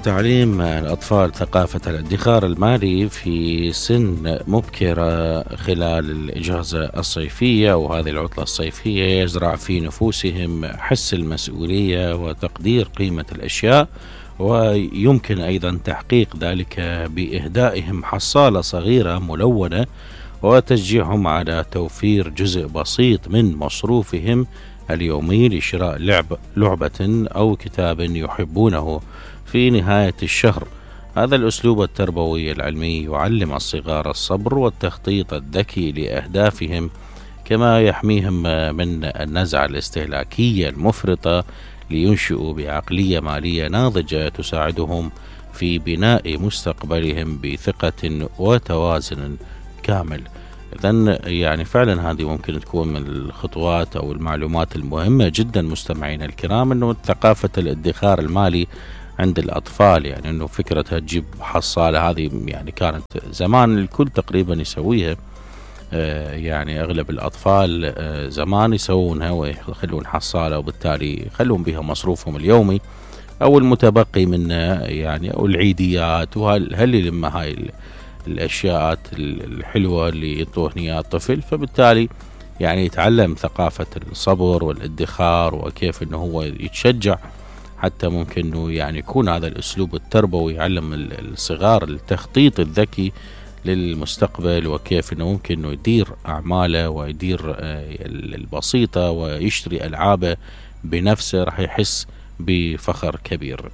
تعليم الأطفال ثقافة الادخار المالي في سن مبكرة خلال الإجازة الصيفية وهذه العطلة الصيفية يزرع في نفوسهم حس المسؤولية وتقدير قيمة الأشياء، ويمكن أيضا تحقيق ذلك بإهدائهم حصالة صغيرة ملونة وتشجيعهم على توفير جزء بسيط من مصروفهم اليومي لشراء لعبة أو كتاب يحبونه في نهاية الشهر. هذا الأسلوب التربوي العلمي يعلم الصغار الصبر والتخطيط الذكي لأهدافهم، كما يحميهم من النزعة الاستهلاكية المفرطة لينشئوا بعقلية مالية ناضجة تساعدهم في بناء مستقبلهم بثقة وتوازن كامل. إذن يعني فعلا هذه ممكن تكون من الخطوات أو المعلومات المهمة جدا مستمعين الكرام، أنه ثقافة الادخار المالي عند الأطفال، يعني أنه فكرتها تجيب حصالة هذه يعني كانت زمان الكل تقريبا يسويها، يعني أغلب الأطفال زمان يسوونها ويخلون حصالة وبالتالي يخلون بها مصروفهم اليومي أو المتبقي منه يعني أو العيديات، وهل لما هاي الأشياء الحلوة اللي يعطوه إياها الطفل، فبالتالي يعني يتعلم ثقافة الصبر والادخار وكيف إنه هو يتشجع حتى ممكن إنه يعني يكون هذا الأسلوب التربوي يعلم الصغار التخطيط الذكي للمستقبل، وكيف إنه ممكن إنه يدير أعماله ويدير البسيطة ويشتري ألعابه بنفسه، راح يحس بفخر كبير.